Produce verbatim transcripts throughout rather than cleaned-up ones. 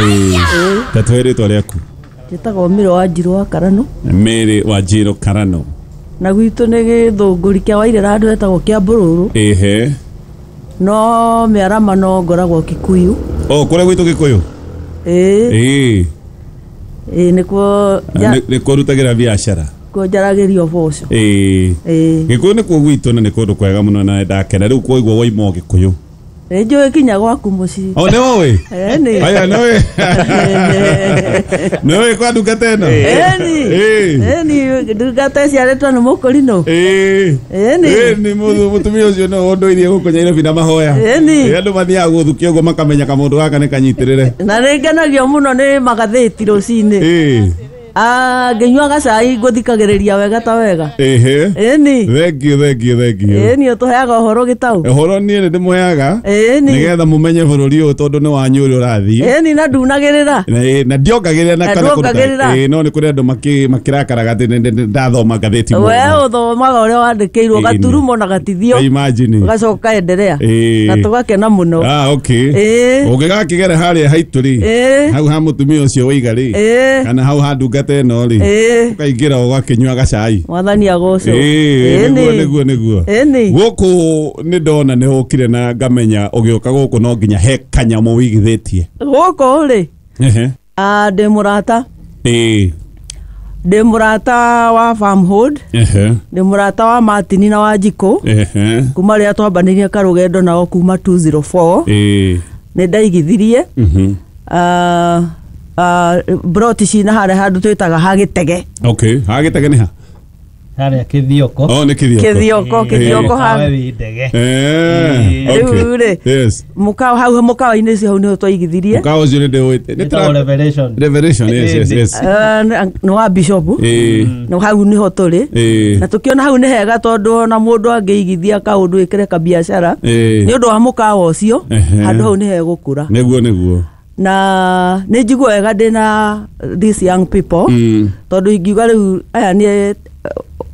Ĩĩ. Ta twĩre rĩtwa rĩaku. Njĩtagwo Mĩrĩ wa Njirũ wa Karano. Mary wa Njirũ Karano. Na gwitũ nĩ gĩthũngũri kĩa Wairĩra handũ hetagwo kĩa Mbũrũrũ. Ĩhĩ. No mĩarama no ngoragwo Kikuyu. O kũrĩa gwitũ Gĩkũyũ? Ĩĩ. Ĩĩ. Ĩĩ nĩkuo Nĩ nĩkuo rutagĩra biacara. Kuo njaragĩria ũboco. Ĩĩ. Ĩĩ. Gĩkũyũ nĩkuo gwitũ na nĩ kũndũ kwega mũno na ndakena rĩu kwoigua waima o Gĩkũyũ. Nĩ njũĩ kinya gwaku mũciĩ. O nĩ ũĩ? Ĩni. Aya nĩ ũĩ. Nĩ ũĩ kwa ndungata ĩno? Ĩni. Ĩĩ. Ĩni ndungata ĩciarĩtwo nĩ mũkũrinũ. Ĩĩ. Ĩni. Ĩni mũtumia ũcio no ũndũirie gũkũ Nyairobi na mahoya. Ĩni. Ĩ andũ mathiaga gũthukia ũguo makamenya kamũndũ gaka nĩ kanyitĩrĩre. Na nĩ ngenagio mũno nĩ magathĩti rũcinĩ. Ĩĩ. Ah, ngĩnyua gacai ngũthikagĩrĩria wega ta wega. Ĩhĩ. Ĩni. Thank you, thank you, thank you. Ĩni ũtũheaga ũhoro gĩtaũ. Ũhoro niĩ nĩ ndĩmũheaga. Ĩni. Nĩgetha mũmenye bũrũri ũyũ tondũ nĩ wanyu ũrĩa ũrathiĩ. Ĩni na ndunagĩrĩra. Na ĩ, na ndiongagĩrĩra na Na kana kũruta. nduongagĩrĩra. Ĩ, no nĩ kũrĩ andũ makĩ- makĩrakaraga atĩ nĩ- nĩ- ndathoma ngathĩti mũno. We ũthomaga ũrĩa wandĩkĩirwo Ĩni. gaturumo na gatithio. Imagine. Ũgacoka endelea. Ĩĩ. Na tũgakena mũno. Ah, okay. Ĩĩ. Ũngĩgakĩgera harĩa haitũ rĩ. Ĩĩ. Hau ha mũtumia ũcio waiga rĩ. Ĩĩ. Kana hau ha ndungata ĩno rĩ. Ĩĩ. Ũkaingĩra ũgakĩnyua gacai. Mwathani agocwo. Ĩĩ, nĩguo Ĩni. nĩguo nĩguo. Ĩni. Gũkũ nĩ ndona nĩ ũkire na ngamenya ũgĩũka gũkũ no nginya he kanyamũ wĩigithĩtie. Gũkũ rĩ. Ehe. Ah, ndĩ mũrata. Ĩĩ. Ndĩ mũrata wa Farmhold. Ehe. Ndĩ mũrata wa Martin na wa Njikũ. Ehe. Kuma rĩrĩa twambanĩirie karũgendo nao kuma two zero four. Ĩĩ. Nĩ ndaigithirie. Mhm. Ah, ah, broti cina harĩa handũ twĩtaga ha Gĩtege. Okay, ha Gĩtege nĩ ha? Harĩa Kĩthioko. Oh, nĩ Kĩthioko. Kĩthioko, Kĩthioko ha. Kawe wĩ ndege. Eh, okay. Rĩu rĩ, Yes. mũkawa hau mũkawa-inĩ ũcio hau nĩho twaigithirie. Mũkawa ũcio nĩ ndĩũĩte. Nĩ Wĩtagwo Revelation. Revelation, yes, yes, yes. Eh, nĩ wa bishop. Ĩĩ. Na hau nĩho tũrĩ. Ĩĩ. Na tũkĩona hau nĩ hega tondũ ona mũndũ angĩigithia kaũndũ ĩkĩre kabiacara. Ĩĩ. Nĩ ũndũ wa mũkawa ũcio, Ehe. handũ hau nĩ hegũkũra. Nĩguo, nĩguo. Na nĩ njigua wega ndĩna these young people. Mm. Tondũ ingiuga rĩu aya nĩ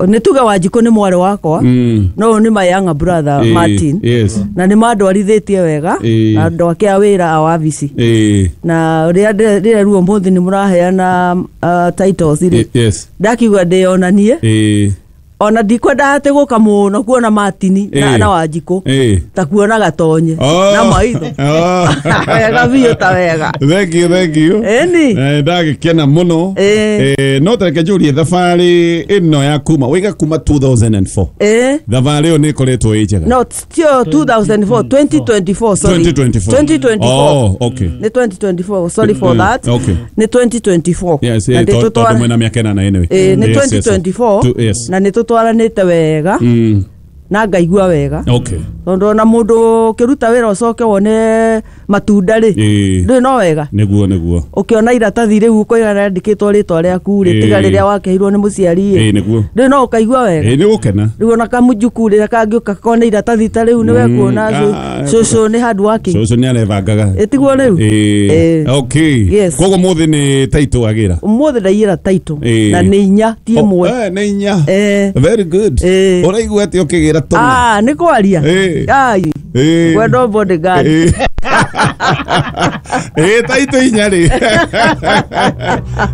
nĩ tuge Wanjikũ nĩ mwarĩ wakwa. Mm. No ũyũ nĩ my younger brother Ĩĩ, Martin. yes. Na nĩ mandwarithĩtie wega. Ĩĩ. Na andũ ake a wĩra a wabici. Ĩĩ. Na rĩrĩa rĩrĩa rĩu ũmũthĩ nĩ mũraheana, uh, titles rĩ. Yes. Ndakiuga ndĩyonanie. Ĩĩ. Ona ndikwenda atĩ gũka mũno kuona Martin na, Ĩĩ. na Wanjikũ. Ĩĩ. Ta kuona gatonye. Oh. Na maitho. Oh. Wega biũ ta wega. Thank you, thank you. Ĩni. Eh, ndagĩkena mũno. Ĩĩ. Eh, no tareke njũrie thabarĩ ĩno ya kuma waiga kuma two thousand and four. Ĩĩ. Thabarĩ ĩyo nĩ ĩkoretwo ĩ njega. No, still two thousand four, twenty twenty-four, sorry. twenty twenty-four. twenty twenty-four. Oh, okay. Nĩ twenty twenty-four, sorry for Mm, that. okay. Nĩ twenty twenty-four. Yes, Na eh, nĩ to- tũtwara- tondũ mwĩna mĩaka ĩnana anyway. Ĩĩ, nĩ Yes, yes, twenty twenty-four. Two, yes. Na nĩ tũtwaranĩte wega. Mm. Na ngaigua wega. Okay. Tondũ ona mũndũ ũkĩruta wĩra ũcoke wone matunda rĩ. Ĩĩ. Ndũĩ no wega. Nĩguo, nĩguo. Ũkĩona iratathi rĩu ũkoiga rĩandĩkĩtwo rĩtwa rĩaku rĩ, tiga Ĩĩ. rĩrĩa wakeirwo nĩ mũciari rĩ. Ĩĩ, nĩguo. Ndũĩ no ũkaigua wega. Ĩĩ, nĩ ũgũkena. Rĩu ona kamũjukuu rĩrĩa kangĩũka kone iratathi ta rĩu nĩwe Mm, kuona ah, cũcũ nĩ hard working. Cũcũ nĩ arebangaga. Ĩ, tiguo rĩu? Ĩĩ. Ĩĩ. Okay. Yes. Koguo mũthĩ nĩ title wagĩra. Ũmũthĩ ndaiyĩra title. Ĩĩ. Na nĩ inya, ti Oh, ĩmwe. eh, nĩ inya. Ĩĩ. Very good. Ĩĩ. Ũraigua atĩa ũkĩgĩra tũna? Ah, nĩ kwaria. Ĩĩ. Ai. Ĩĩ. Gwendwo bodyguard. Ĩĩ. Ĩĩ, title inya rĩ.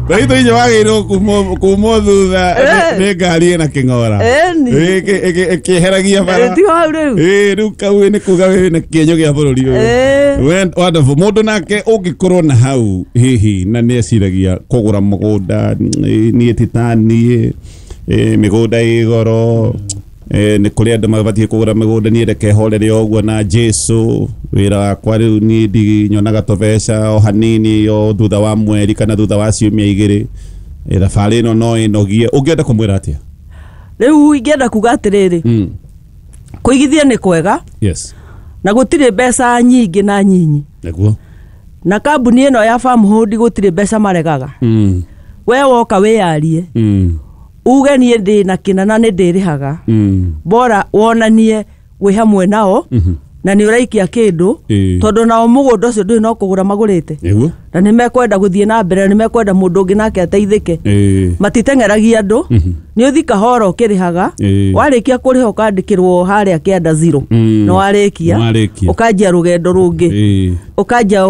Title inya wagĩrĩirwo kumwo, kumwo thutha Ĩĩ. nĩ ngari ĩna kĩng'ora. Ĩni. Ĩĩ, ĩkĩ-, ĩkĩ-, ĩkĩeheragia bara. Ĩĩ, tigo hau rĩu. Ĩĩ, rĩu kau nĩ kuga wĩna kĩenyo gĩa bũrũri ũyũ. Ĩĩ. We-, wonderful. Mũndũ nake ũngĩkorwo na hau hihi na nĩ eciragia kũgũra mũgũnda, ĩ, niĩ ti ta niĩ, ĩ, mĩgũnda ĩ goro, ĩ, nĩ kũrĩ andũ mabatiĩ kũgũra mĩgũnda, niĩ reke horere o ũguo na Jesũ. Wĩra wakwa rĩu niĩ ndinyonaga tũbeca o hanini o thutha wa mweri kana thutha wa ciumia igĩrĩ. Ĩ, thabarĩ ĩno no ĩnogie. Ũngĩenda kũmwĩra atĩa? Rĩu ingĩenda kuga atĩrĩrĩ, Mm. kũigithia nĩ kwega. Yes. Na gũtirĩ mbeca nyingĩ na nyinyi. Nĩguo. Na kambuni ĩno ya Farmhold gũtirĩ mbeca maregaga. Mm. We woka wĩyarie. Mm. Uge niĩ ndĩ na kĩna na nĩ ndĩrĩhaga. Mm. Bora wonanie wĩ hamwe nao. Mhm. Na nĩ ũraikia kĩndũ. Ĩĩ. Tondũ nao mũgũnda ũcio ndũrĩ no kũgũra magũrĩte. Nĩguo. Na nĩ mekwenda gũthiĩ na mbere, nĩ mekwenda mũndũ ũngĩ nake ateithĩke. Ĩĩ. Matiteng'eragia andũ. Mhm. Nĩ ũthi kahora ũkĩrĩhaga. Ĩĩ. Warĩkia kũrĩha ũkandĩkĩrwo harĩa kĩanda zero. Mm. Nĩ warĩkia. Nĩwarĩkia. Ũkanjia rũgendo rũngĩ. Ĩĩ. Ũkanjia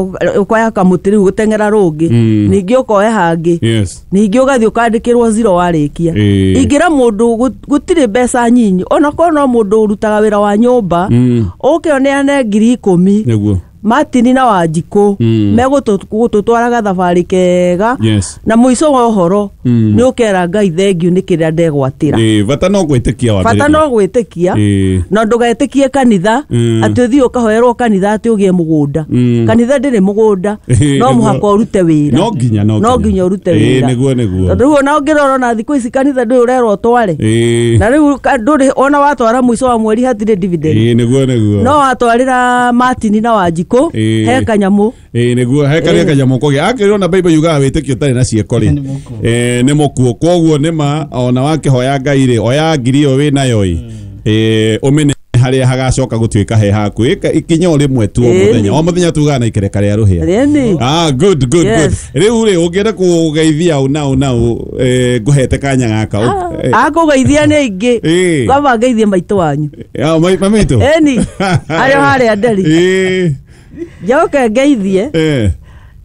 ũkoya kamũtĩ rĩu gũteng'era rũngĩ. Mm. Ningĩ ũkoya hangĩ. Yes. Ningĩ ũgathiĩ ũkandĩkĩrwo zero warĩkia. Ĩĩ. Ingĩra mũndũ gũ- gũtirĩ mbeca nyinyi onakorwo no mũndũ ũrutaga wĩra wa nyũmba Mm. ũke ũneane ngiri ikũmi. Nĩguo. Martin na Wanjikũ Mm. megũtũtwara gathabarĩ kega. Yes. Na mũico wa ũhoro Mm. nĩ ũkera Ngai thengiũ nĩ kĩrĩa ndegwatĩra. Ĩĩ, bata no gwĩtĩkia wambĩrĩria. Bata no gwĩtĩkia. Ĩĩ. Na ndũgetĩkie kanitha Mm. atĩ ũthiĩ ũkahoerwo kanitha atĩ ũgĩe mũgũnda. Mm. Kanitha ndĩrĩ mũgũnda. Ĩĩ, No nĩguo. mũhaka ũrute wĩra. No nginya, no no nginya. nginya ũrute Ĩĩ, wĩra. nĩguo, nĩguo. Tondũ rĩu ona ũngĩrora ona thikũ ici kanitha ndũĩ ũrerwo ũtware. Ĩĩ. Na rĩu ka- ndũrĩ ona watwara mũico wa mweri hatirĩ dividend. Ĩĩ, nĩguo, nĩguo. No watwarĩra Martin na Wanjikũ Ĩĩ. he kanyamũ. Ĩĩ, nĩguo he karĩa kanyamũ kũgĩa akĩrwo na Bible yugaga wĩtĩkio ũtarĩ na ciĩko rĩ Nĩ mũkuũ. ĩĩ, nĩ mũkuũ. Koguo nĩma ona wakĩhoya Ngai rĩ, oya ngiri ĩyo wĩnayo ĩ, ĩĩ, ũmĩne harĩa hagacoka gũtuĩka he haku. Ĩka ikinya o rĩmwe tu o Ĩĩ. mũthenya o mũthenya tugaga na ikereka rĩa rũhĩa. Ĩni. Ah, good, good, good. Yes. Rĩu rĩ, ũngĩenda kũgeithia ũ nau nau, eh, ngũhete kanya gaka. Ũ- eh, Akũgeithia nĩ aingĩ. Ĩĩ. Ngamba ngeithie maitũ wanyu. Ah, mai- mami witũ? Ĩni. Arĩa harĩa nderi. Ĩĩ. Njoke ngeithie Eh.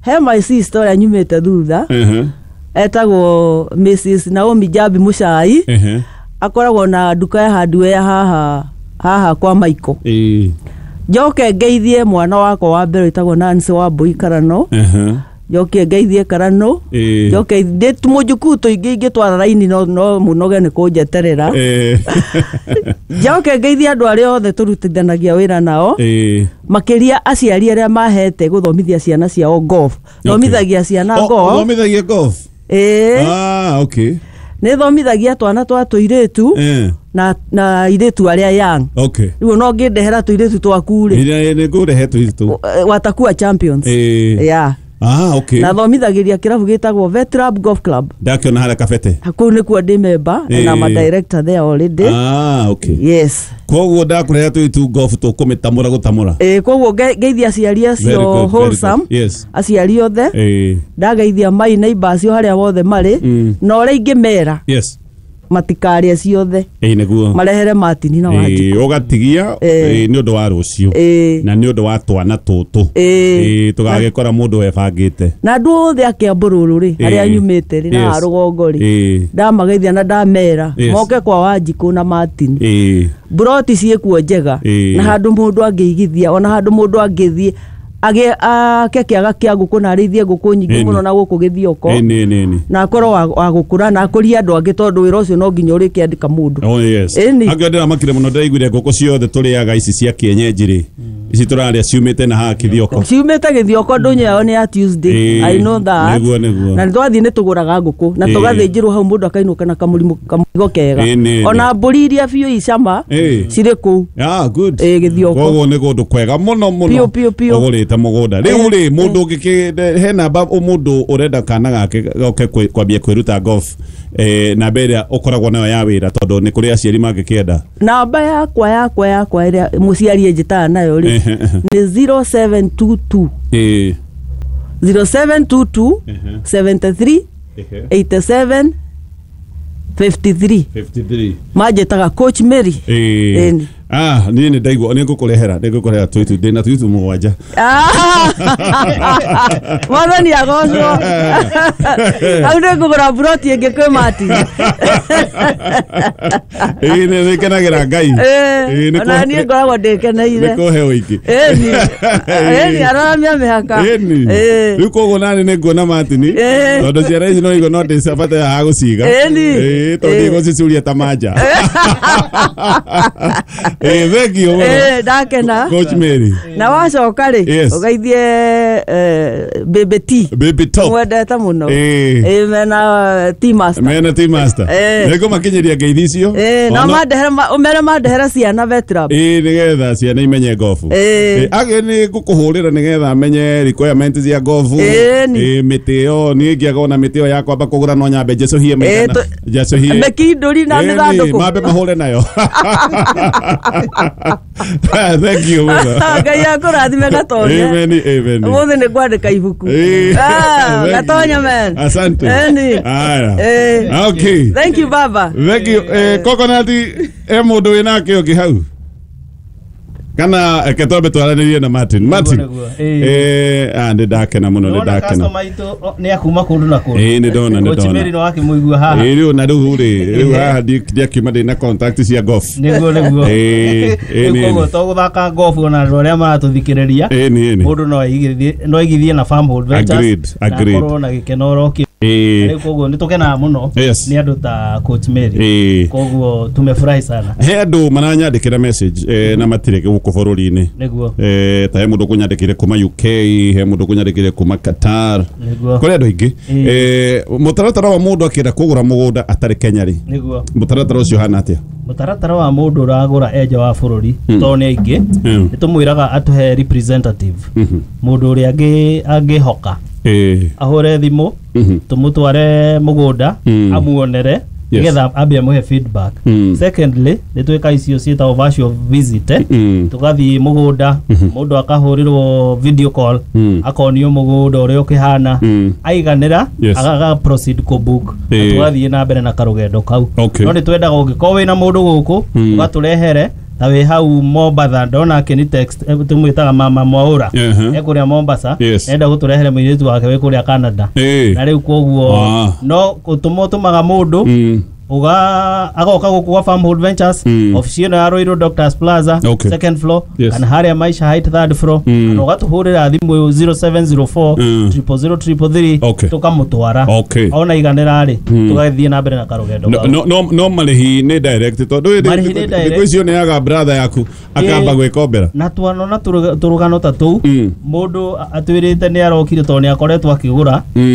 he my sister ũrĩa nyumĩte thutha Mhm. etagwo Mrs Naomi Jambi Mũcai. Ehe. Akoragwo na nduka ya hardware haha haha kwa Michael. Ĩĩ. Njoke ngeithie mwana wakwa wa mbere wĩtagwo Nancy Wambui Karano. Ehe. Njoke ngeithie Karano. Ĩĩ. Njoke ndĩ mũjukuu tũingĩ ingĩtwara raini no no mũnoge nĩ kũnjeterera. Eh. Njoke ngeithie andũ arĩa othe tũrutithanagia wĩra nao. Ĩĩ. Makĩria aciari arĩa mahete gũthomithia ciana ciao golf. Thomithagia ciana Oh, golf. ũthomithagia golf? Ĩĩ. Ah, okay. Nĩ thomithagia twana twa tũirĩtu Eh. na na airĩtu arĩa young. Okay. Rĩu no ngĩndehera tũirĩtu twaku rĩ, Ĩrĩa nĩ ngũrehe tũirĩtu. watakuwa champions. Ĩĩ. Yeah. Ah, okay. Na thomithagĩria kĩrabu gĩtagwo Vetrab Golf Club. Ndakĩona harĩa kabete. Kũu nĩkuo ndĩ member and I'm a Ĩĩ. director there already. Ah, okay. Yes. Koguo ndakũrehe tũirĩtu golf tũkũmĩtamũra gũtamũra. Ĩĩ, koguo nge- ngeithia aciari Very acio good, very good. wholesome. Yes. Aciari othe. Ĩĩ. Ndageithia mai neighbor acio harĩa wothe marĩ. Mm. Na ũrĩa ingĩmera Yes. matikarĩe ciothe. Ĩĩ, nĩguo. Marehere Martin na Wanjikũ. Ĩĩ, ũgatigia Ĩĩ. ĩĩ, nĩ ũndũ wa rũciũ Ĩĩ. na nĩ ũndũ wa twana tũtũ. Ĩĩ. Ĩĩ, tũgagĩkora mũndũ webangĩte. Na andũ othe a Kĩambũrũrũ rĩ, harĩa Ĩĩ. nyumĩte rĩ, na Yes. haha rũgongo rĩ, Ĩĩ. ndamageithia na ndamera Yes. moke kwa Wanjikũ na Martin. Ĩĩ. Mburoti ciĩkuo njega Ĩĩ. na handũ mũndũ angĩigithia ona handũ mũndũ angĩthiĩ agĩe ake kĩaga kĩa ngũkũ na arĩithie ngũkũ nyingĩ Ĩni. mũno na gũkũ gĩthioko. Ĩni, ĩni, ĩni. Na akorwo wa, wa gũkũra na akũrie andũ angĩ tondũ wĩra ũcio no nginya ũrĩkĩandĩka mũndũ. Oh, yes. Ĩni. Angĩo ndĩramakire mũno ndĩraiguire ngũkũ ciothe tũrĩaga ici cia kĩenyenji rĩ, ici tũrarĩa ciumĩte na haha Kĩthioko. Ciumĩte gĩthioko ndũnyũ yao nĩ ya Tuesday. Ĩĩ. I know that. Nĩguo, nĩguo. Na nĩ twathiĩ nĩ tũgũraga ngũkũ na Ĩĩ. tũgathĩnjĩrwo hau mũndũ akainũka na kamũrimũ kamũrigo kega. Ĩĩ, nĩ, nĩ. Ona mbũri iria biũ icama Ĩĩ. cirĩ kũu. Ah, good. Ĩĩ, Gĩthioko. Koguo nĩ kũndũ kwega mũno mũno. Piũ, piũ, piũ. Ũgũrĩte mũgũnda. Rĩu rĩ, mũndũ ũngĩkĩ he namba mũndũ ũrenda kana gake goke kwĩ- kwambia kwĩruta golf, eh, namba ĩrĩa ũkoragwo nayo ya wĩra tondũ nĩ kũrĩ aciari mangĩkĩenda. Namba yakwa yakwa yakwa ĩrĩa mũciari ĩnjĩtaga nayo rĩ Ehe, ehe. nĩ zero seven two two Ĩĩ. zero seven two two Ehe. seventy three eighty seven fifty three. fifty-three. Manjĩtaga Coach Mary. Ĩĩ. Ĩni. Ah, niĩ nĩ ndaigua nĩ ngũkũrehera nĩ ngũkũrehera tũitu ndĩna tũitu mũgwanja. Ah! Mwathani agocwo. Hau nĩ ngũgũra mburoti ĩngĩ kwĩ Martin. Ĩĩ, nĩ nĩ kenagĩra Ngai. Ĩĩ, nĩ Ona kũhe- niĩ ngoragwo ndĩkeneire. nĩ kũhe ũingĩ. Ĩni. Ĩni araramia mĩhaka. Ĩni. Ĩĩ. Rĩu koguo nani nĩ nguona Martin Ĩĩ. tondũ ciana ici no igua no ndĩcabata ya gũciga. Ĩni. Ĩĩ, tondũ Ĩĩ. igũcicuria ta manja. Ĩĩ, thank you mũno. Ĩĩ, ndakena. Coach Mary. Na wacoka rĩ, Yes. ũgeithie eh, Baby T. Baby Top. Mwendete mũno. Ĩĩ. Ĩĩ, mena T Master. Mena T Master. Ĩĩ. Nĩ ngũmakinyĩria ngeithi icio. Ĩĩ, na Ona- mandehere ma- ũmere mandehere ciana Vetrab. Ĩĩ, nĩgetha ciana imenye gofu. Ĩĩ. Ĩĩ, agĩ nĩ ngũkũhũrĩra nĩgetha menye requirement cia gofu. Ĩĩ, ni. Ĩĩ, mĩtĩ ĩyo niĩ ngĩaga ona mĩtĩ ĩyo ya kwamba kũgũra no nyambe njecũhie maigana. tũ- Njecũhie. Mĩkindũri na Ĩĩ, ni, mĩthandũkũ. mambe mahũre nayo. Thank you mũno. Ngai akũrathime gatoria. Amen, amen. Ũmũthĩ nĩ ngwandĩka ibuku. Eh, Ah, thank you. Gatonya man. Asante. Eni. Aya. Eh. Okay. Thank you, baba. Thank you. Eh, Coconut, e mũndũ wĩnake ũngĩ hau kana reke twambe twaranĩrie na Martin. Martin. Nĩguo, nĩguo. Eh, ah, nĩ ndakena mũno, nĩ Nĩwona ndakena. customer aitũ o, nĩ akuma kũndũ na kũndũ. Ĩĩ, nĩ ndona, nĩ Coach ndona. Mary nĩ wakĩmũigua haha. Ĩĩ, rĩu na rĩu rĩ, rĩu haha ndi- ndiakiuma ndĩ na contact cia golf. Nĩguo, nĩguo. Ĩĩ, ĩĩ, Rĩu nĩ- koguo to gũthaka golf ona andũ arĩa maratũthikĩrĩria, Ĩĩ, nĩ, nĩ. mũndũ no aigithie no aigithie na Farmhold Ventures Agreed, na agreed. akorwo na gĩkeno oro kĩu. Ĩĩ. Rĩu koguo nĩ tũkenaga mũno Yes. nĩ andũ ta Coach Mary. Ĩĩ. Koguo tumefurahi sana. He andũ maranyandĩkĩra message eh, na matirĩ gũkũ bũrũri-inĩ. Nĩguo. Eh, ta he mũndũ ũkũnyandĩkĩire kuma U K, he mũndũ ũkũnyandĩkĩire kuma Qatar. Nĩguo. Kũrĩ andũ aingĩ. Ĩĩ. Eh, mũtaratara wa mũndũ akĩenda kũgũra mũgũnda atarĩ Kenya rĩ, Nĩguo. mũtaratara ũcio ũhana atĩa? Mũtaratara wa mũndũ ũragũra enja wa bũrũri, tondũ nĩ aingĩ, Mm. nĩ tũmwĩraga atũhe representative, Mhm. mũndũ ũrĩa angĩ- angĩhoka Ĩĩ. ahũre thimũ, Mhm. tũmũtware mũgũnda, Mm. amuonere, Yes. nĩgetha ambe amũhe feedback. Mm. Secondly, nĩ twĩka icio ciĩtagwo virtual visit, eh? Mm. Tũgathiĩ mũgũnda, mũndũ akahũrĩrwo video call, Mm. akonio mũgũnda ũrĩa ũkĩhana, Mm. aiganĩra, Yes. aga proceed kũ book na Ĩĩ. tũgathiĩ na mbere na karũgendo kau. Okay. No nĩ twendaga ũngĩkorwo wĩna mũndũ gũkũ, Mm. ũgatũrehere ta wĩ hau Mombatha, ndona akĩni text, eh, tũmwĩtaga mama Mwaũra, Uh-huh. e kũrĩa Mombasa, Yes. enda gũtũrehere mũirĩtu wake wĩ kũrĩa Canada. Ĩĩ. Na rĩu koguo Ah. no gũtũma ũtũmaga mũndũ Mm. uga agoka gũkũ gwa Farmhold Ventures, Mm. ofici ĩno ya Ruiru Doctors Plaza, Okay. second floor, Yes. kana harĩa Maisha Height, third floor, Mm. kana ũgatũhũrĩra thimũ zero seven zero four Mm. zero zero three three, Okay. tũkamũtwara. Okay. Ona iganĩra rĩ, tũgathiĩ na mbere na karũgendo No, kau. no, no, no marĩhi nĩ direct tondũ Marĩhi nĩ direct. thikũ icio nĩaga brother yaku akamba Ĩĩ. gwĩkombera. Na twanona tũrũgano ta tũu, Mm. mũndũ atwĩrĩte nĩ arokire tondũ nĩ akoretwo akĩgũra. Mm.